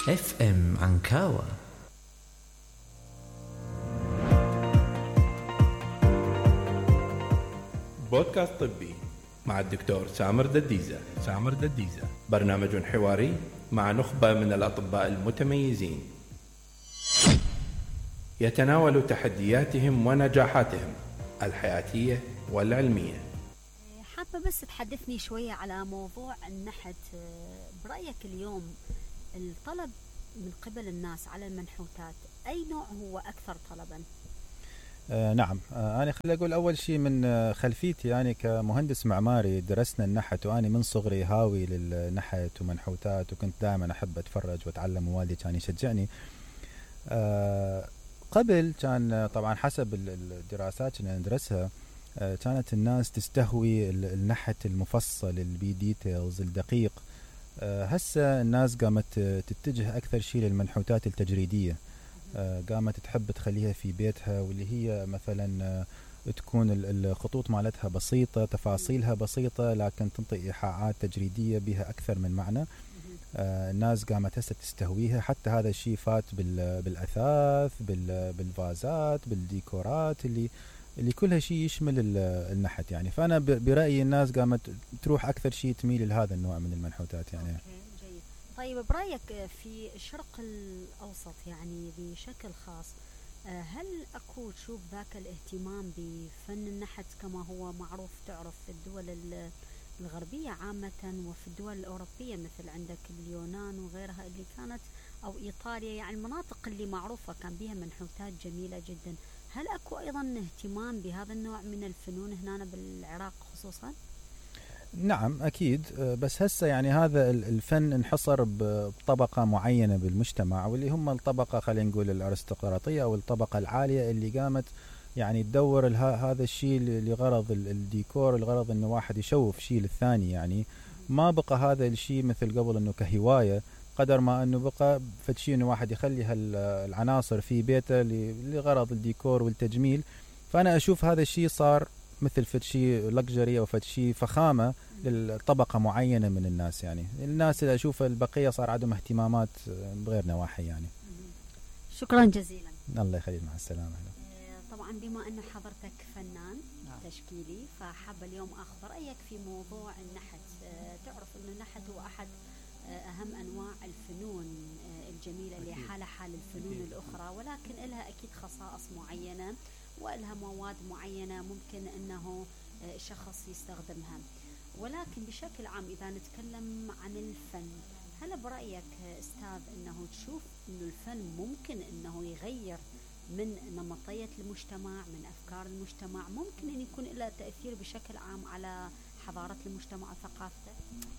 اف ام عنكاوة. بودكاست طبي مع الدكتور سامر دديزة. برنامج حواري مع نخبة من الأطباء المتميزين يتناول تحدياتهم ونجاحاتهم الحياتية والعلمية. حابة بس تحدثني شوية على موضوع النحت. برأيك اليوم الطلب من قبل الناس على المنحوتات أي نوع هو أكثر طلبا؟ نعم، أنا خلي أقول أول شيء من خلفيتي، يعني كمهندس معماري درسنا النحت، وأنا من صغري هاوي للنحت ومنحوتات، وكنت دائما أحب أتفرج وأتعلم، ووالدي كان يشجعني. قبل كان طبعا حسب الدراسات اللي ندرسها كانت الناس تستهوي النحت المفصل، البي ديتيلز الدقيق. هسه الناس قامت تتجه أكثر شيء للمنحوتات التجريدية، قامت تحب تخليها في بيتها، واللي هي مثلا تكون الخطوط مالتها بسيطة، تفاصيلها بسيطة، لكن تنطي إيحاءات تجريدية بها أكثر من معنى. الناس قامت هسه تستهويها، حتى هذا الشيء فات بالأثاث، بالفازات، بالديكورات اللي كلها شيء يشمل النحت يعني. فأنا برأيي الناس قامت تروح أكثر شيء تميل لهذا النوع من المنحوتات يعني. جيد. طيب برأيك في الشرق الأوسط يعني بشكل خاص، هل أكو تشوف ذاك الاهتمام بفن النحت كما هو معروف تعرف في الدول الغربية عامة وفي الدول الأوروبية، مثل عندك اليونان وغيرها اللي كانت، أو إيطاليا، يعني المناطق اللي معروفة كان بها منحوتات جميلة جدا. هل أكو أيضا اهتمام بهذا النوع من الفنون هنا بالعراق خصوصا؟ نعم أكيد، بس هسه يعني هذا الفن انحصر بطبقة معينة بالمجتمع، واللي هم الطبقة خلينا نقول الأرستقراطية أو الطبقة العالية، اللي قامت يعني تدور هذا الشيء لغرض الديكور، لغرض انه واحد يشوف شيء للثاني يعني. ما بقى هذا الشيء مثل قبل انه كهواية، قدر ما انه بقى فد شيء انه واحد يخلي العناصر في بيته لغرض الديكور والتجميل. فانا اشوف هذا الشيء صار مثل فد شيء لكجري او فد شيء فخامة للطبقة معينة من الناس يعني. الناس اللي اشوف البقية صار عندهم اهتمامات بغير نواحي يعني. شكرا جزيلا. الله يخليك، مع السلامة. طبعا بما أنه حضرتك فنان تشكيلي، فحابة اليوم أخذ رأيك في موضوع النحت. تعرف أنه النحت هو أحد أهم أنواع الفنون الجميلة اللي حالة حال الفنون الأخرى، ولكن لها أكيد خصائص معينة ولها مواد معينة ممكن أنه شخص يستخدمها. ولكن بشكل عام إذا نتكلم عن الفن، هل برأيك أستاذ أنه تشوف أنه الفن ممكن أنه يغير من نمطية المجتمع، من أفكار المجتمع، ممكن أن يكون له تأثير بشكل عام على حضارة المجتمع وثقافته؟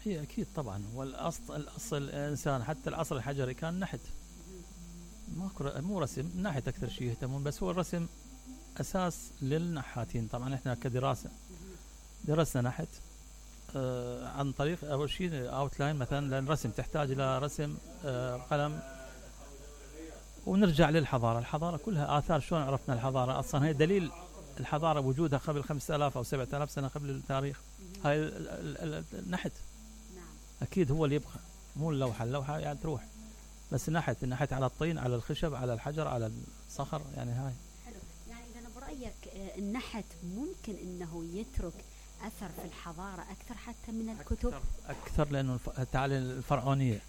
هي أكيد طبعا، والأصل الإنسان حتى العصر الحجري كان نحت، مو رسم، نحت أكثر شيء يهتمون، بس هو الرسم أساس للنحاتين. طبعا إحنا كدراسة درسنا نحت عن طريق أول شيء أوتلاين مثلا، لأن الرسم تحتاج إلى رسم قلم، ونرجع للحضارة. الحضارة كلها آثار، شلون عرفنا الحضارة؟ أصلا هي دليل الحضارة وجودها قبل 5000 أو 7000 سنة قبل التاريخ. هاي النحت أكيد هو اللي يبقى، مو اللوحة يعني تروح، بس النحت على الطين، على الخشب، على الحجر، على الصخر يعني. هاي حلو. يعني إذا برأيك النحت ممكن إنه يترك أثر في الحضارة أكثر حتى من الكتب؟ أكثر لأنه تعالى الفرعونية،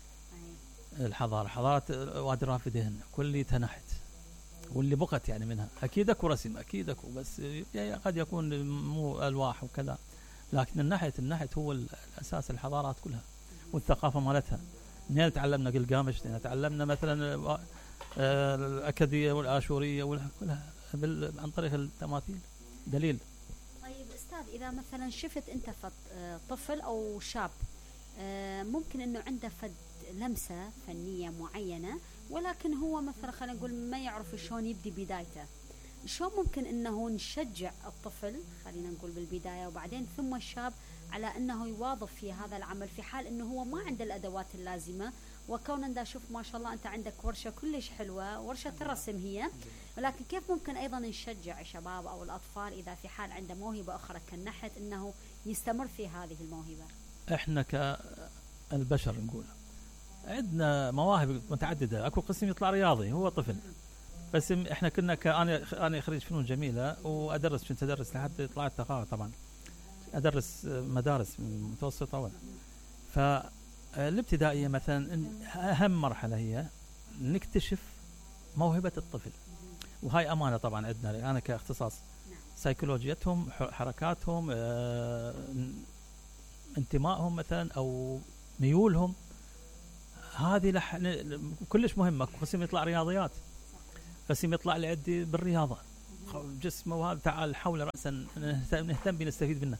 الحضارة، حضارة وادي الرافدين كلها نحت، واللي بقت يعني منها أكيد أكو رسم، أكيد أكو، بس يعني قد يكون مو ألواح وكذا، لكن النحت هو الأساس الحضارات كلها والثقافة مالتها. منين تعلمنا قلقامش، تعلمنا مثلا الأكدية والآشورية كلها عن طريق التماثيل، دليل. طيب أستاذ، إذا مثلا شفت أنت طفل أو شاب ممكن أنه عنده لمسة فنية معينة، ولكن هو مثلا خلينا نقول ما يعرف شلون يبدي بدايته، شلون ممكن انه نشجع الطفل خلينا نقول بالبداية، وبعدين ثم الشاب على انه يواظب في هذا العمل في حال انه هو ما عنده الادوات اللازمة؟ وكون انت شوف ما شاء الله انت عندك ورشة كلش حلوة، ورشة الرسم هي، ولكن كيف ممكن ايضا نشجع الشباب او الاطفال اذا في حال عنده موهبة اخرى كالنحت انه يستمر في هذه الموهبة؟ احنا كالبشر نقول عندنا مواهب متعدده. اكو قسم يطلع رياضي هو طفل، بس احنا كنا انا خريج فنون جميله وادرس، كنت ادرس لحد طلعت تقاعد طبعا، ادرس مدارس متوسطه فالابتدائيه مثلا اهم مرحله هي نكتشف موهبه الطفل، وهاي امانه طبعا عندنا انا كاختصاص سيكولوجيتهم، حركاتهم، انتمائهم مثلا او ميولهم، هذه كلش مهمه. قسم يطلع رياضيات، قسم يطلع لعدي بالرياضه جسمه، وهذا تعال حول راسا نهتم بنستفيد منه.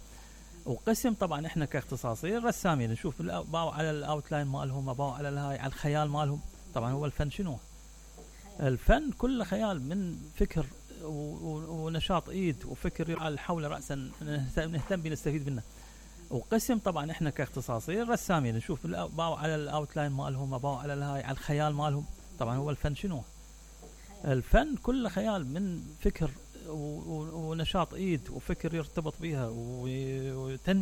وقسم طبعا احنا كاختصاصي الرسامين نشوف باو على الاوتلاين مالهم، باو على الهاي على الخيال مالهم. طبعا هو الفن شنو؟ الفن كله خيال، من فكر ونشاط ايد وفكر حول راسا نهتم بنستفيد منه. وقسم طبعا احنا كاختصاصي الرسامين نشوف باو على الاوتلاين مالهم، باو على الهاي على الخيال مالهم. طبعا هو الفن شنو؟ الفن كله خيال، من فكر ونشاط ايد وفكر يرتبط بها وتنمية